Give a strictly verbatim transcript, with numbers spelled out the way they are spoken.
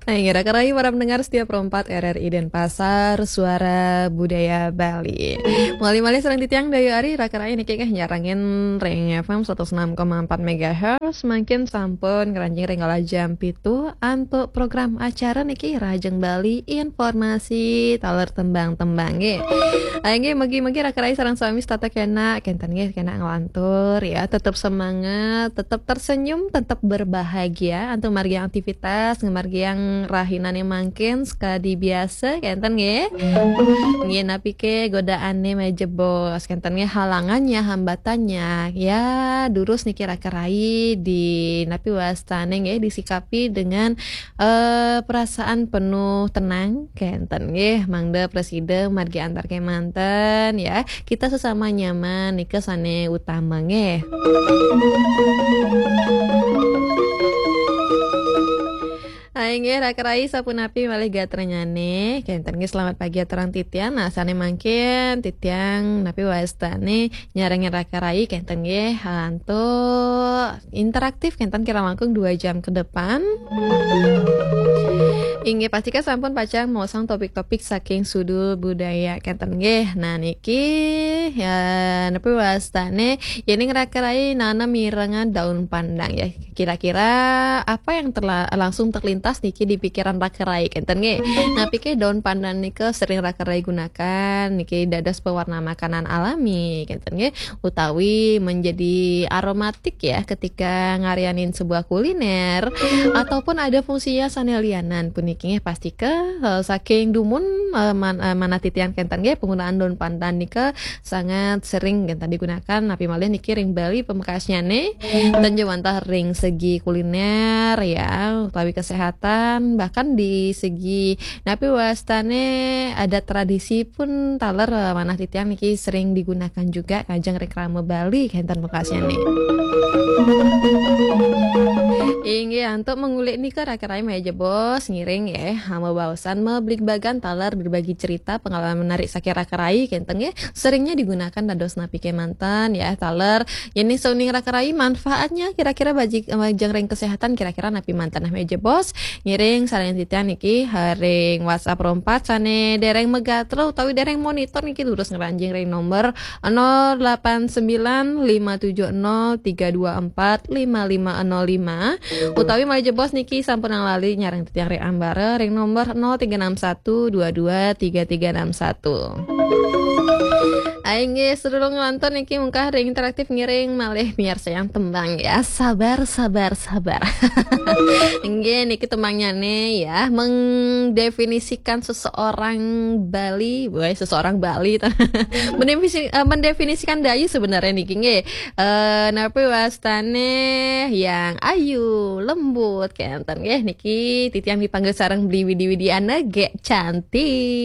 Nah, inggih, raka rayi para pendengar setia Pro empat R R I Denpasar, Suara Budaya Bali. Malih-malih sareng titiang Dayu Ari, raka rayi niki nggih nyarengin ring F M seratus enam koma empat megahertz, mangkin sampun ngranjing ring kala jam pitu antuk program acara niki Rahajeng Bali, informasi taler tembang-tembang nggih. Ah, inggih, mugi-mugi raka rayi sareng sami setata kenak, kenten nggih, kenak nglantur ya, tetep semangat, tetep tersenyum, tetep berbahagia antuk margiang aktivitas, ngamargiang rahinane mangkin sakadi biasa, kenten nggih. Nggih, napi ke godaane malih jebos, kenten nggih, halangannya, hambatannya, ya durus niki raka rayi di napi wastane nggih, disikapi dengan eh, perasaan penuh tenang, kenten nggih, mangda prasida margi antar kemanten ya. Kita sesama nyaman nika sane utama nggih. Ah, inggih, raka rayi sapunapi malih gatranyane? Kenten nggih, selamat pagi aturang titiang. Nah, sane mangkin titiang napi wastane nyarengin raka rayi, kenten nggih, antuk interaktif kenten kira langkung dua jam ke depan. Inggih, pastika sampun pacang maosang topik-topik saking Sudul Budaya kenten nggih. Nah, niki ya napi wastane, yening raka rayi nanem mirengan daun pandang ya. Kira-kira apa yang terla-, langsung terlintas niki di pikiran raka rayi kenten nggih. Napi ke daun pandan nika sering raka rayi gunakan niki dados pewarna makanan alami kenten nggih, utawi menjadi aromatik ya ketika ngarianin sebuah kuliner, ataupun ada fungsinya sane lianan puniki nggih, pastika eh, saking dumun eh, man-, eh, manah titiang kenten nggih, penggunaan daun pandan nika sangat sering kenten digunakan, napi malih niki ring Bali pamekasnyane, ten ja wantah ring segi kuliner ya, utawi kesehatan, bahkan di segi napi wastane adat tradisi pun taler eh, manah titiang niki sering digunakan juga kajeng ring krama Bali kenten pamekasnyane. Inggih, antuk mengulik nika raka rayi malih jebos ngiring ya, hama baosan mabligbagan taler berbagi cerita pengalaman menarik saking raka rayi kenten nggih, seringnya digunakan dados napi kemanten ya, taler yening sauning raka rayi manfaatnya kira-kira bagi, eh, kajeng ring kesehatan kira-kira napi manten, nah malih jebos ngiring sareng titiang niki, eh, ring WhatsApp Pro empat sane dereng magatra utawi dereng monitor niki durus ngranjing ring nomor nol delapan sembilan lima tujuh nol tiga dua empat lima lima nol lima, utawi malih jebos niki sampun lali nyareng titiang ring ambara ring nomor nol tiga enam satu dua dua tiga tiga enam satu. Ai nggih, sadurung nglantur niki mungkah ring interaktif ngiring malih miarsayang tembang ya. Sabar, sabar, sabar. Nggih, niki tembangnyane ya, mendefinisikan seseorang Bali, woi, seseorang Bali. Mendefinisi-, eh, mendefinisikan Dayu sebenarnya niki nggih. Eh, napi wastane yang ayu, lembut, kenten nggih niki titiang dipanggil sareng Beli Widi Widiana, gek cantik.